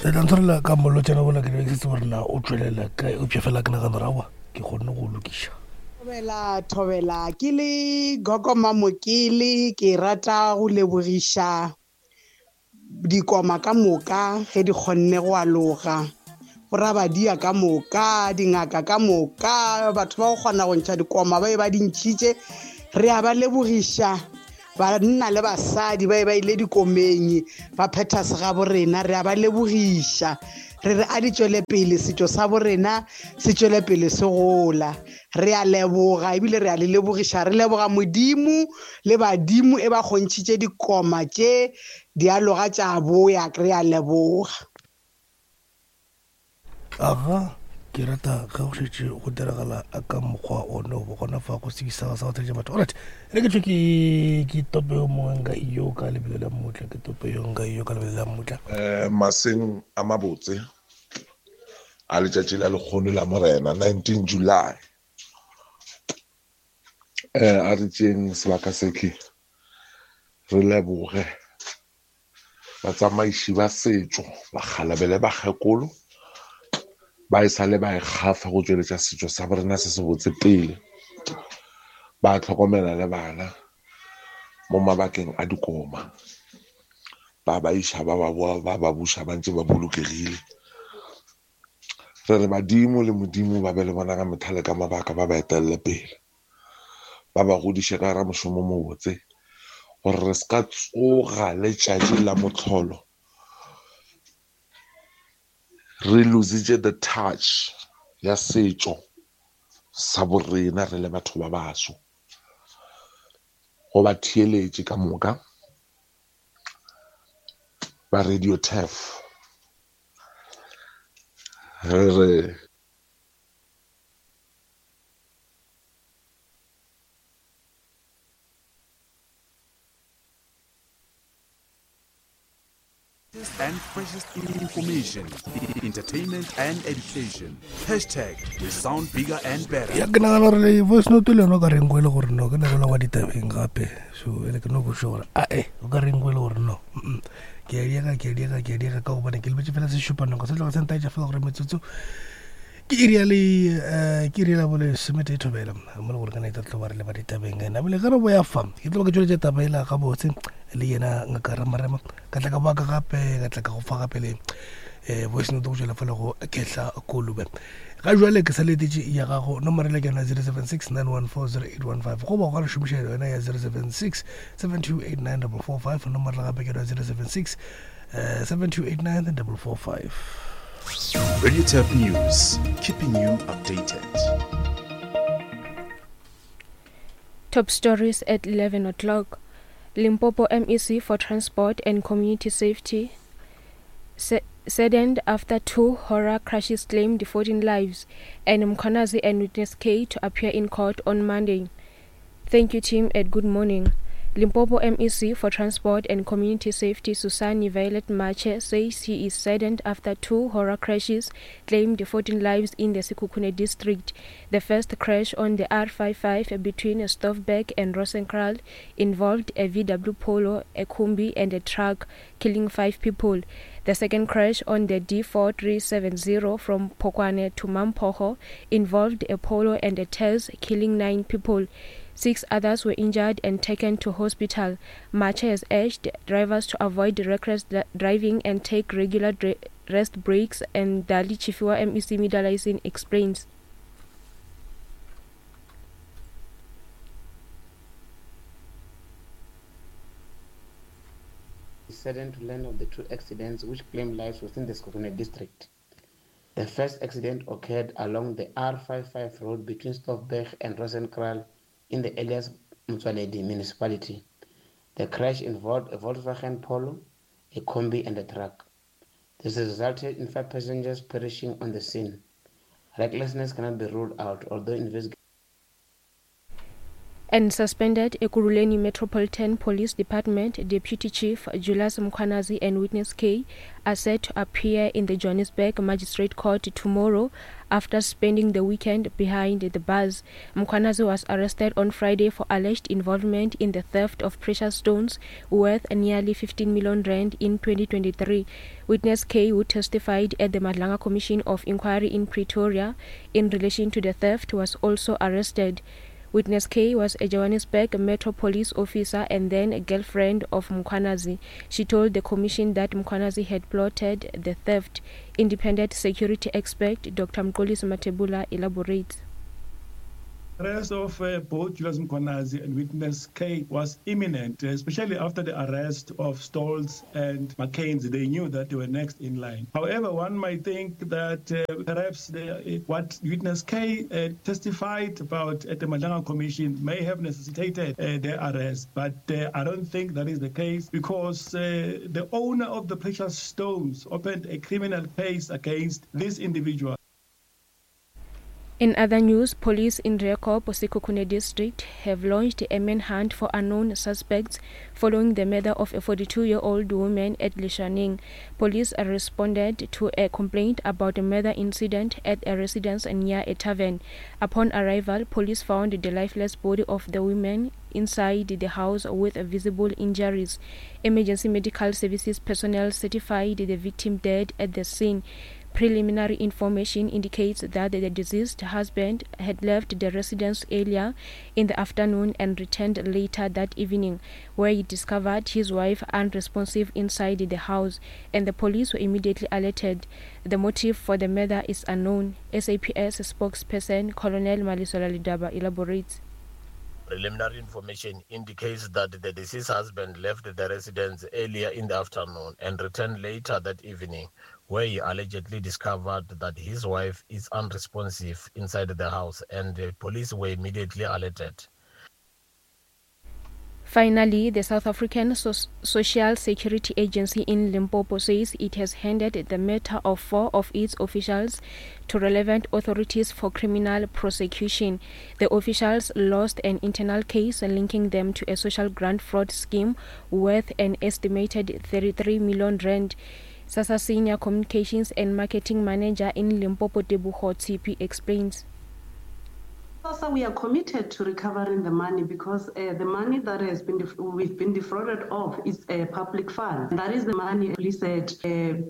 Le tla ntshwarela ka molotšana wola ke be ke se tsebe gore na o tšwelela kae eupša fela ke nagana gore aowa ke kgonne go o lokiša. Thobela, thobela, ke le Gogo Mamokele ke rata go lebogiša dikoma ka moka ge di kgonne go aloga borabadia ka moka dingaka ka moka batho ba go kgona go ntšha dikoma ba e ba di ntšhitše re a ba lebogiša banna le basadi ba e ba ile dikomeng ba phetha segabo rena re a ba lebogiša re re a di tšwele pele setšo sa borena se tšwele pele se gola re a leboga ebile re a le lebogiša re leboga modimo le badimo e ba kgontšhitše dikoma tše dialoga tša boya re a leboga Aga, ke rata ge go šetše go diragala ka mokgwa one o gona fa go sekisa sa go theletša batho. Alright, re ke tšwe ke ke tope yo mongwe nka iyo ka lebelo la mmutla, ke tope yo nka iyo ka lebelo la mmutla. Eh, maseng a mabotse a letšatši la lekgono la morena 19 July eh a re tšeng sebaka sekhe re leboge batsamaiši ba setšo bakgalabele bakgekolo ba e sale ba e kgafa go tšweletša setšo sa borena se se botse pele ba tlhokomela le bana mo mabakeng a dikoma ba ba iša ba ba boa ba ba buša ba ntse ba bolokegile re re badimo le modimo ba be le bona ka methale ka mabaka ba ba etelele pele ba ba godiše ka gara mošomo mobotse gore re se ka tsoga letšatši la motlholo re lositše the touch ya setšo sa borena re le batho ba baso go ba theeletše ka moka ba radio tef re re and freshest information, entertainment and education. Hashtag we sound bigger and better. Ya ke nagana gore le voice note le yone o ka reng e le gore no ke nako la wa ditabeng gape so e le ke no go gore a e o ka reng e le gore no ke a diega ke a diega ke a diega ka gobane ke lebetse fela sešupanako se tloga se ntaetša fela gore metsotso ke iri ya le eh, ke iri ya bo lesometee thobela mo le gore ka naita tlo ba re le ba ditabeng ena bile ge re boya fa ke tlo ba ke tšweletša taba ela gabotse le yena ngaka ramarema ka tla ka boa ka gape ka tla ka go fa gape le um voice note go tšwela fa le go kehla kolobe ga jwale ke sa letetše ya gago nomoro le ke yona 076 914 0815 goba go ka re šomiša yona ya 076 7289 445 nomoro le gape ke yona 076 7289 445 Radio Tap News, keeping you updated. Top stories at 11 o'clock. Limpopo MEC for Transport and Community Safety saddened after two horror crashes claimed 14 lives, and Mkhwanazi and witness K to appear in court on Monday. Thank you, team, and good morning. Limpopo MEC for Transport and Community Safety Susani Violet Mache says he is saddened after two horror crashes claimed 14 lives in the Sekhukhune district. The first crash on the R55 between Stoffberg and Rosenkraal involved a VW Polo, a Kombi and a truck, killing five people. The second crash on the D4370 from Pokwane to Mampoho involved a Polo and a Tez, killing nine people. Six others were injured and taken to hospital. Mache has urged drivers to avoid reckless driving and take regular rest breaks, and Dali Chifiwa MEC Midalaisin explains. Saddened to learn of the two accidents which claimed lives within the Sekhukhune district. The first accident occurred along the R55 road between Stoffberg and Rosenkraal in the Elias Motsoaledi municipality. The crash involved a Volkswagen Polo, a Kombi and a truck. This resulted in five passengers perishing on the scene. Recklessness cannot be ruled out, although investigations. And suspended Ekurhuleni Metropolitan Police Department Deputy Chief Julius Mkhwanazi and Witness K are set to appear in the Johannesburg Magistrate Court tomorrow after spending the weekend behind the bars. Mkhwanazi was arrested on Friday for alleged involvement in the theft of precious stones worth nearly 15 million rand in 2023. Witness K, who testified at the Madlanga Commission of Inquiry in Pretoria in relation to the theft, was also arrested. Witness K was a Johannesburg Metro Police officer and then a girlfriend of Mkhwanazi. She told the commission that Mkhwanazi had plotted the theft. Independent security expert Dr. Mxolisi Mathebula elaborates. Arrest of both Julius Mkhwanazi and Witness K was imminent, especially after the arrest of Stoltz and Mackenzie. They knew that they were next in line. However, one might think that perhaps what Witness K testified about at the Madlanga Commission may have necessitated their arrest. But I don't think that is the case, because the owner of the precious stones opened a criminal case against this individual. In other news, police in Driekop, Sekhukhune district, have launched a manhunt for unknown suspects following the murder of a 42-year-old woman at Lishaneng. Police responded to a complaint about a murder incident at a residence near a tavern. Upon arrival, police found the lifeless body of the woman inside the house with visible injuries. Emergency medical services personnel certified the victim dead at the scene. Preliminary information indicates that the deceased husband had left the residence earlier in the afternoon and returned later that evening, where he discovered his wife unresponsive inside the house, and the police were immediately alerted. The motive for the murder is unknown. SAPS spokesperson Colonel Malisola Lidaba elaborates. Preliminary information indicates that the deceased husband left the residence earlier in the afternoon and returned later that evening, where he allegedly discovered that his wife is unresponsive inside the house, and the police were immediately alerted. Finally, the South African Social Security Agency in Limpopo says it has handed the matter of 4 of its officials to relevant authorities for criminal prosecution. The officials lost an internal case linking them to a social grant fraud scheme worth an estimated 33 million rand. SASSA Senior Communications and Marketing Manager in Limpopo, Tebogo Tshipi, explains. SASSA, we are committed to recovering the money, because the money that has been we've been defrauded of is a public fund. That is the money, police said,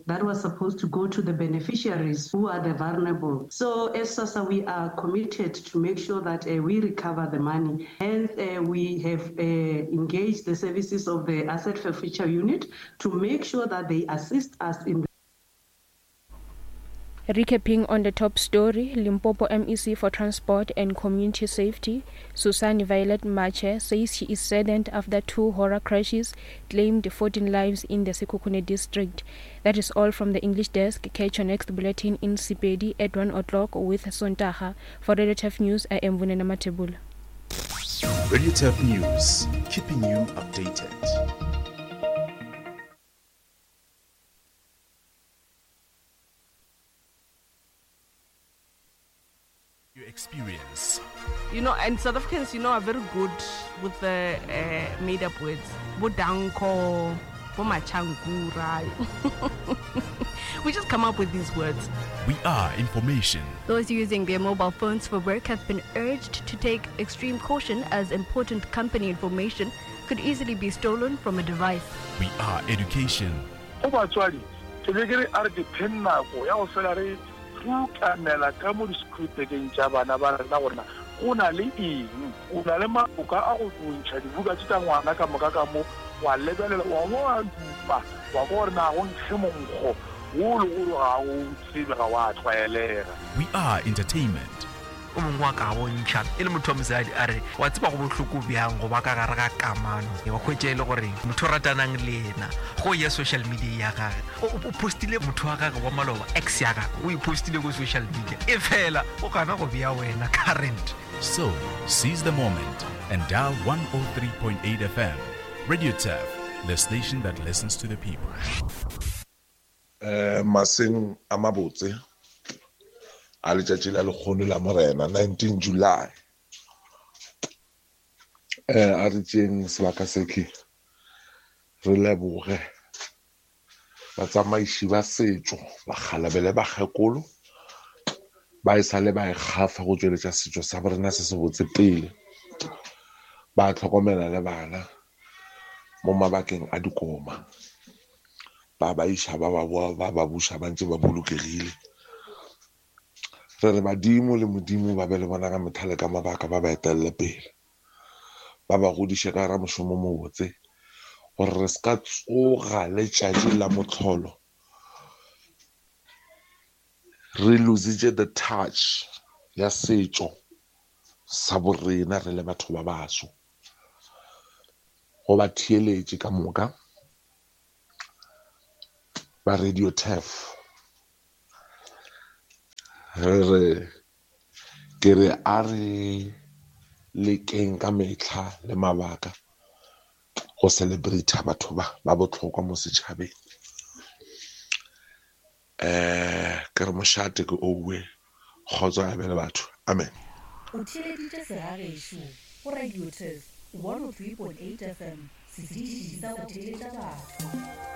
that was supposed to go to the beneficiaries who are the vulnerable. So as SASSA, we are committed to make sure that we recover the money. Hence, we have engaged the services of the Asset Forfeiture Unit to make sure that they assist us in the Recapping on the top story, Limpopo MEC for Transport and Community Safety, Susan Violet Mache, says she is saddened after 2 horror crashes claimed 14 lives in the Sekhukhune district. That is all from the English desk. Catch your next bulletin in Sepedi at 1 o'clock with Sontaha. For Radio Turf News, I am Vunena Matebula. Radio Turf News, keeping you updated. Experience. You know, and South Africans, you know, are very good with the made-up words. Bodanko, Bomachankura. We just come up with these words. We are information. Those using their mobile phones for work have been urged to take extreme caution, as important company information could easily be stolen from a device. We are education. Go batswadi, ke be ke re a re dipheng nako ya go fela re rutamela ka mo diskrutekeng tša bana ba rena gore na go na le eng. O na le maloka a go ntšha dibuka tše tša ngwana ka moka ka mo, wa lebelela, wa bo wa dupa, wa kwa gore na go nkge monkgo wo le gore ga o tsebe, ga wa tlwaelega. We are entertainment. O mongwe wa ka bontšha e le motho wa mosadi a re, wa tseba go bohloko bjang go ba ka gare ga kamano, wa hwetša e le gore motho o ratanang le yena go ya social media ya gage o postile motho wa gage wa maloba, ex ya gage o e postile ko social media, e fela o gana go bea wena current. So seize the moment and dial 103.8 FM. Radio Turf, the station that listens to the people. Maseng a mabotse a letšatši la lekgono la Morena, 19 July. Eh, a re tšeeng sebaka sekhi re leboge batsamaiši ba setšo bakgalabele bakgekolo ba e sale ba e kgafa go tšweletša setšo sa borena se sebotse pele ba tlhokomela le bana mo mabakeng a dikoma ba ba iša ba ba boa ba ba buša ba ntše ba bolokegile re re badimo le modimo ba be le bona ka methale ka mabaka ba ba etelele pele ba ba godiše ka gara mošomo mobotse gore re se ka tsoga letšatši la motlholo re lositše the touch ya setšo sa borena re le batho ba baso go ba theeletše ka moka ba radio tef re re Ke re a re lekeng ka metlha le mabaka go celebrate batho ba ba botlhokwa mo setšhabeng. Um ke re mošate ke owe kgotso a be le batho amen. O theeleditše Segagešo go Radio Turf 103.8 FM, setiši sa go theeletša batho.